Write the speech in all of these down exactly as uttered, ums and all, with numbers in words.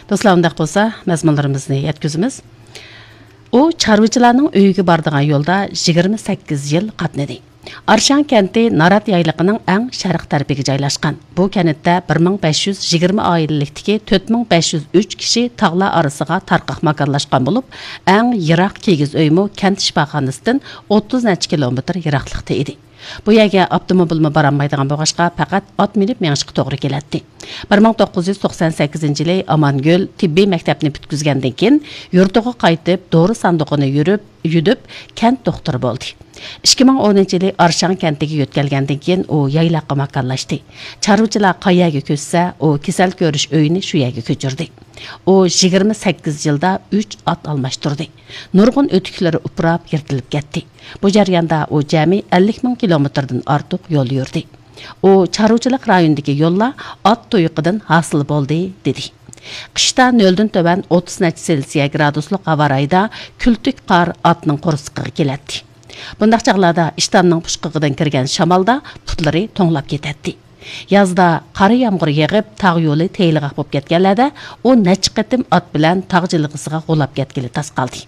دوستلار، ئۇنداق بولسا مەزمۇنلىرىمىزنى يەتكۈزىمىز. ئۇ چارۋىچىلارنىڭ ئۆيىگە بارىدىغان يولدا يىگىرمە سەككىز يىل قاتنىدى. ئارشاڭ كەنتى نارات يايلىقىنىڭ ئەڭ شەرق تەرىپىگە جايلاشقان. بۇ كەنتتە بىر مىڭ بەش يۈز يىگىرمە ئائىلىلىكتىكى تۆت مىڭ بەش يۈز ئۈچ كىشى تاغلار ئارىسىغا تارقاق ماكانلاشقان بولۇپ، ئەڭ يىراق كىگىز ئۆيمۇ كەنت شىپاخانىسىدىن ئوتتۇز نەچچە كىلومېتىر يىراقلىقتا ئىدى. بۇ يەرگە ئاپتوموبىلمۇ بارالمايدىغان بولغاچقا، پەقەت ئات مىنىپ مېڭىشقا توغرا كېلەتتى. بىر مىڭ توققۇز يۈز توقسان سەككىزىنچى يىلى ئامانگۈل تېببىي مەكتەپنى پۈتكۈزگەندىن كېيىن، يۇرتىغا قايتىپ، دورا ساندۇقىنى يۈرۈپ، يۈدۈپ، كەنت دوختۇرى بولدى. ئىككى مىڭ ئونىنچى يىلى ئارشاڭ كەنتىگە يۆتكەلگەندىن كېيىن، ئۇ يايلاققا ماكانلاشتى. چارۋىچىلار قايەرگە كۆچسە، ئۇ كېسەل كۆرۈش ئۆيىنى شۇ يەرگە كۆچۈردى. ئۇ يىگىرمە سەككىز يىلدا ئۈچ ئات ئالماشتۇردى. نۇرغۇن ئۆتۈكلىرى ئۇپراپ، يىرتىلىپ كەتتى. بۇ جەرياندا ئۇ جەمئىي ئەللىك مىڭ كىلومېتىردىن ئارتۇق يول يۈردى. ئۇ چارۋىچىلىق رايونىدىكى يوللار ئات تۇيىقىدىن ھاسىل بولدى، دېدى. قىشتا نۆلدىن تۆۋەن ئوتتۇز نەچچە سېلسىيە گرادۇسلۇق ھاۋا رايىدا كۈلتۈك قار ئاتنىڭ قورسىقىغا كېلەتتى. بۇنداق چاغلاردا ئىشتاننىڭ پۇچقىقىدىن كىرگەن شامالدا پۇتلىرى توڭلاپ كېتەتتى. يازدا قارا يامغۇر يېغىپ، تاغ يولى تېيىلغاق بولۇپ كەتكەنلەردە ئۇ نەچچە قېتىم ئات بىلەن تاغ جىلغىسىغا غۇلاپ كەتكىلى تاس قالدى.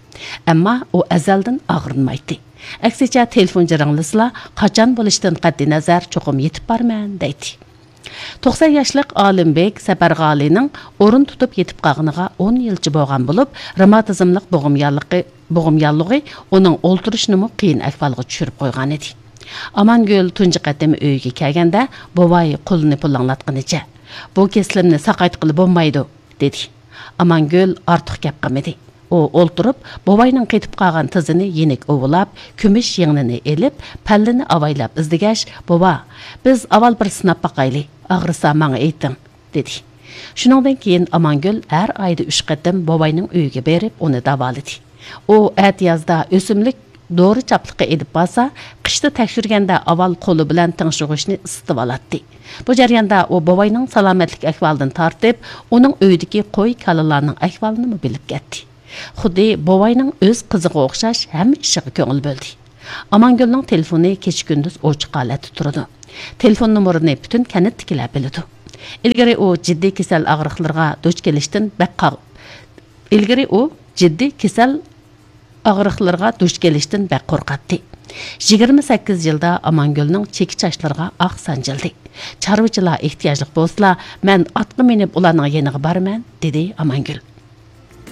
ئەمما ئۇ ئەزەلدىن ئاغرىنمايتتى. ئەكسىچە، تېلېفون جىرىڭلىسىلا، قاچان بولۇشىدىن قەتئىينەزەر، چوقۇم يېتىپ بارىمەن، دەيتتى. توقسان ياشلىق ئالىمبېك سەپەرغالىنىڭ ئورۇن تۇتۇپ يېتىپ قالغىنىغا ئون يىلچە بولغان بولۇپ، رېماتىزملىق بوغۇم ياللىقى، بوغۇم ياللۇغى ئۇنىڭ ئولتۇرۇشىنىمۇ قىيىن ئەھۋالغا چۈشۈرۈپ قويغانىدى. ئامانگۈل تۇنجى قېتىم ئۆيىگە كەلگەندە، بوۋاي قولىنى پۇلاڭلاتقىنىچە، «بۇ كېسىلىمنى ساقايتقىلى بولمايدۇ» دېدى. ئامانگۈل ئارتۇق گەپ قىلمىدى. ئۇ ئولتۇرۇپ، بوۋاينىڭ قېتىپ قالغان تىزىنى يېنىك ئۇۋىلاپ، كۈمۈش يىڭنىنى ئېلىپ، پەللىنى ئاۋايلاپ ئىزدىگەچ، «بوۋا، بىز ئاۋۋال بىر سىناپ باقايلى، ئاغرىسا ماڭا ئېيتىڭ» دېدى. شۇنىڭدىن كېيىن ئامانگۈل ھەر ئايدا ئۈچ قېتىم بوۋاينىڭ ئۆيىگە بېرىپ، ئۇنى داۋالىدى. ئۇ ئەتىيازدا ئۆسۈملۈك دورا چاپلىقى ئېلىپ بارسا، قىشتا تەكشۈرگەندە ئاۋۋال قولى بىلەن تىڭشىغۇچنى ئىسسىتىۋالاتتى. بۇ جەرياندا ئۇ بوۋاينىڭ سالامەتلىك ئەھۋالىدىن تارتىپ، ئۇنىڭ ئۆيىدىكى قوي، كالىلارنىڭ ئەھۋالىنىمۇ بىلىپ كەتتى. خۇددى بوۋاينىڭ ئۆز قىزىغا ئوخشاش ھەممە ئىشىغا كۆڭۈل بۆلدى. ئامانگۈلنىڭ تېلېفونى كېچە-كۈندۈز ئوچۇق ھالەتتە تۇرىدۇ. تېلېفون نومۇرىنى پۈتۈن كەنتتىكىلەر بىلىدۇ. ئىلگىرى ئۇ جىددىي كېسەل ئاغرىقلىرىغا دۇچ كېلىشتىن بەك قاغ-، ئىلگىرى ئۇ جىددىي كېسەل ئاغرىقلىرىغا دۇچ كېلىشتىن بەك قورقاتتى. يىگىرمە سەككىز يىلدا ئامانگۈلنىڭ چېكە چاچلىرىغا ئاق سانجىلدى. «چارۋىچىلار ئېھتىياجلىق بولسىلا، مەن ئاتقا مىنىپ ئۇلارنىڭ يېنىغا بارىمەن» دېدى ئامانگۈل.